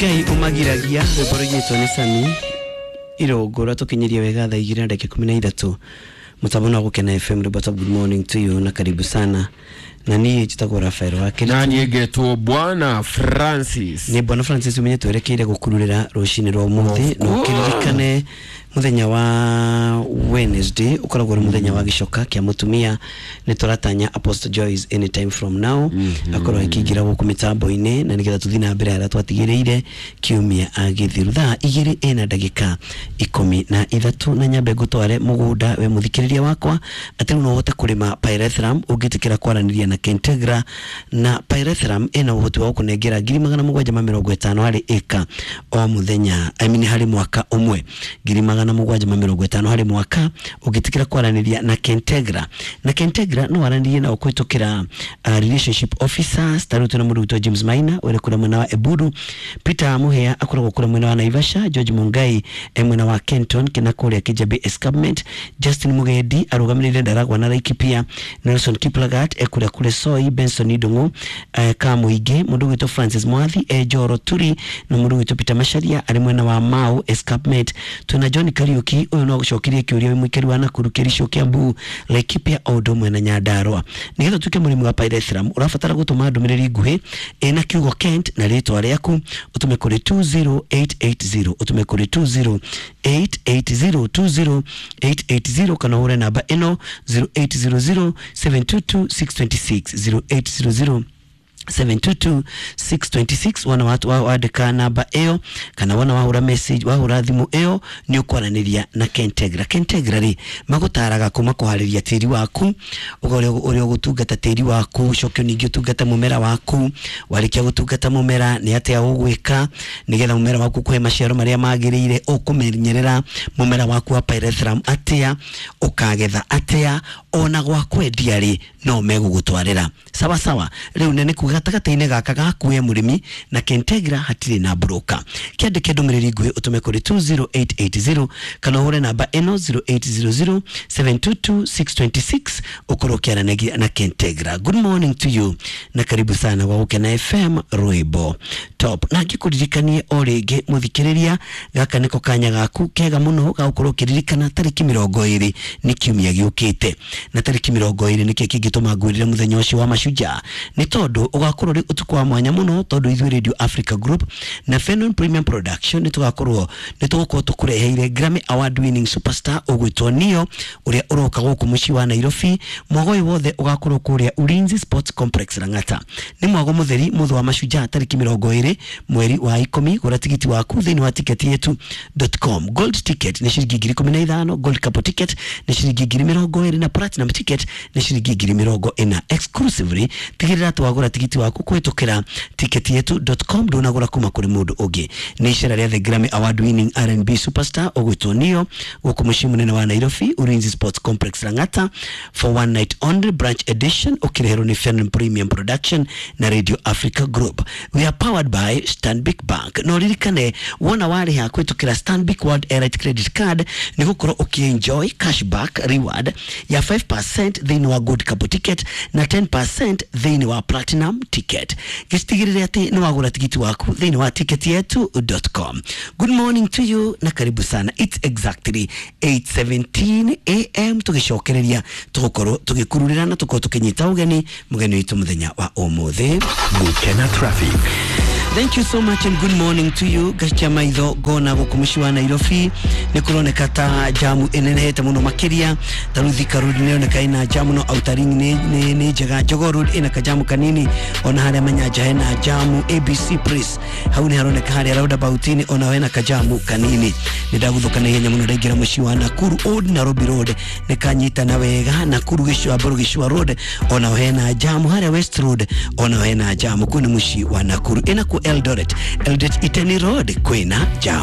Ngai umagiragia rwĩmbo rũiyĩtwo nĩ Sami Irũngũ tũkinyirie wega thaa igĩrĩ na ndagĩka ikũmi na ithatũ mũtambo no gũkena FM rwĩmbo top. Good morning to you na karibu sana. Na niĩ njĩtagwo Rafael wa Kĩritũ. Na niĩ ngetwo Bwana Francis. Nĩ Bwana Francis, umenye twerekeire gũkururĩra rũcinĩ rwa ũmũthĩ. Na ũkĩririkane mũthenya wa Wednesday ũkoragwo ũrĩ mũthenya wa gĩcoka kĩa mũtumia. Nĩ tũratanya Apostle Joyce anytime from now akorwo akĩingĩra gũkũ mĩtambo-inĩ, na nĩgetha tũthiĩ na mbere harĩa twatigĩrĩire kiumia agĩthiru thaa igĩrĩ ĩna ndagĩka ikũmi na ithatũ. Na nyambe ngũtware mũgũnda we mũthikĩrĩria wakwa, atĩ rĩu no ũhote kũrĩma pyrethrum ũngĩtĩkĩra kwaranĩria na Kentegra. Na pyrethrum ĩna ũhoti wa gũkũnengera 750,000 harĩ ĩka o mũthenya, I mean harĩ mwaka ũmwe, 750,000 harĩ mwaka ũngĩtĩkĩra kwaranĩria na Kentegra. Na Kentegra no waranĩrie nao kũhĩtũkĩra relationship officers. Ta rĩu twĩna mũndũ witũ James Maina ũrĩ kũrĩa mwena wa Eburu, Peter Muhea akoragwo kũrĩa mwena wa Naivasha, George Mungai e mwena wa Kenton kina kũrĩa Kijabe Escarpment, Justin Mugendi arũgamĩrĩire Ndaragwa na Laikipia, Nelson Kiplagat e kũrĩa kũrĩ Soi, Benson Ndung'u Kamũingĩ, mũndũ witũ Francis Mwathi e Njoro Turi, na mũndũ witũ Peter Macharia arĩ mwena wa Mau Escarpment. Twĩna John Kariuki, ũyũ no gũcokerie kĩũria wĩ mũikari wa Nakuru, Kericho, Kiambu, Laikipia o ũndũ ũmwe na Nyandarua. Nĩgetha ũtuĩke mũrĩmi wa pyrethrum ũrabatara gũtũma ndũmĩrĩri nguhĩ ĩna kiugo Kent na rĩtwa rĩaku, ũtũme kũrĩ 20880, ũtũme kũrĩ 20880, 20880, kana ũhũre namba ĩno 0800 722 626, 0800 722 626. Wana watu wandĩka namba ĩyo kana wona wahũra message, wahũra thimũ ĩyo, nĩ ũkwaranĩria na Kentegra. Kentegra rĩ, magũtaraga kuma kũharĩria tĩri waku, ũrĩa ũgũtungata tĩri waku, ũcoke ningĩ ũtungate mũmera waku. Warĩkia gũtungata mũmera, nĩ atĩa ũgwĩka nĩgetha mũmera waku kũhe maciaro marĩa magĩrĩire? Ũkũmenyerera mũmera waku wa pyrethrum atĩa? Ũkagetha atĩa? Ona gwa kwendia rĩ, no megũgũtwarĩra sawa sawa. Rĩu nĩ kuga gatagatĩ-inĩ gaka gaku we mũrĩmi na Kentegra hatirĩ na broker. Kĩandĩke ndũmĩrĩri nguhĩ ũtũme kũrĩ 20880 kana ũhũre namba ĩno 0800 722 626, ũkorwo ũkĩaranĩria na Kentegra. Good morning to you na karibu sana gwa Gũkena FM rwĩmbo top. Na ngĩkũririkanie o rĩngĩ mũthikĩrĩria, gaka nĩko kanya gaku kega mũno ga gũkorwo ũkĩririkana tarĩki 20 nĩ kiumia gĩũkĩte. Na tarĩki 20 nĩkĩ kĩngĩtũma ngwĩrĩre mũthenya ũcio wa mashujaa? Nĩ tondũ ũgakorwo ũrĩ ũtukũ wa mwanya mũno, tondũ ithuĩ Radio Africa Group na Fenon Premium Production nĩ tũgakorwo nĩ tũgũkorwo tũkũreheire Grammy Award winning superstar ũgwĩtwo Neo, ũrĩa ũroka gũkũ mũciĩ wa Nairobi. Mwago ũyũ wothe ũgakorwo kũrĩa Ulinzi Sports Complex, Lang'ata. Nĩ mwago mũtheri mũthũ wa mashujaa tarĩki 20 mweri wa 10. Gũra tigiti waku thĩinĩ wa ticket yetu.com. Gold ticket nĩ ciringi 15,000, gold couple ticket nĩ ciringi 20,000, na platinum ticket nĩ ciringi 40,000 exclusively. Tigĩrĩra atĩ wagũra tigiti waku kũhĩtũkĩra ticket yetu.com, ndũnagũra kuma kũrĩ mũndũ ũngĩ. Nĩ icera rĩa the Grammy Award winning R&B superstar ũgwĩtwo Neo gũkũ mũciĩ mũnene wa Nairobi, Ulinzi Sports Complex, Lang'ata, for one night only, branch edition, ũkĩreherwo nĩ Fenon Premium Production na Radio Africa Group. We are powered by Stanbic Bank. No ririkane wona warĩha kũhĩtũkĩra Stanbic World Elite Credit Card, nĩ gũkorwo ũkĩenjoy cashback reward ya 5% thĩinĩ wa gold couple ticket na 10% thĩinĩ wa platinum ticket. Gĩcitigĩrĩre atĩ nĩ wagũra tigiti waku thĩinĩ wa ticket yetu.com. Good morning to you na karibu sana. It's exactly 8:17 am. Tũgĩcokereria tũgũkorwo tũgĩkururĩra na tũkorwo tũkĩnyita ũgeni mũgeni witũ mũthenya wa ũmũthĩ. Gukena Traffic. Thank you so much and good morning to you. Gacia maitho ngona gũkũ mũciĩ wa Nairobi nĩ kũroneka ta jamu ĩnenehete mũno makĩria. Ta rĩu Thika Road nĩ ĩroneka ĩna jamu, no Outer Ring nĩ njega. Jogoo Road ĩna kajamu kanini, ona harĩa Manyanja hena jamu. ABC Place hau nĩ haroneka harĩa roundabout-inĩ ona hena kajamu kanini. Nĩ ndagũthũka na ihenya mũno ndaingĩra mũciĩ wa Nakuru. Old Nairobi Road nĩ kanyitana wega. Nakuru Gĩcũa Mbũrũ Gĩcũa Road ona hena jamu. Harĩa West Road ona hena jamu. Kũu nĩ mũciĩ wa Nakuru. Ĩna ku Eldoret, Eldoret Iten Road kwĩna jamu.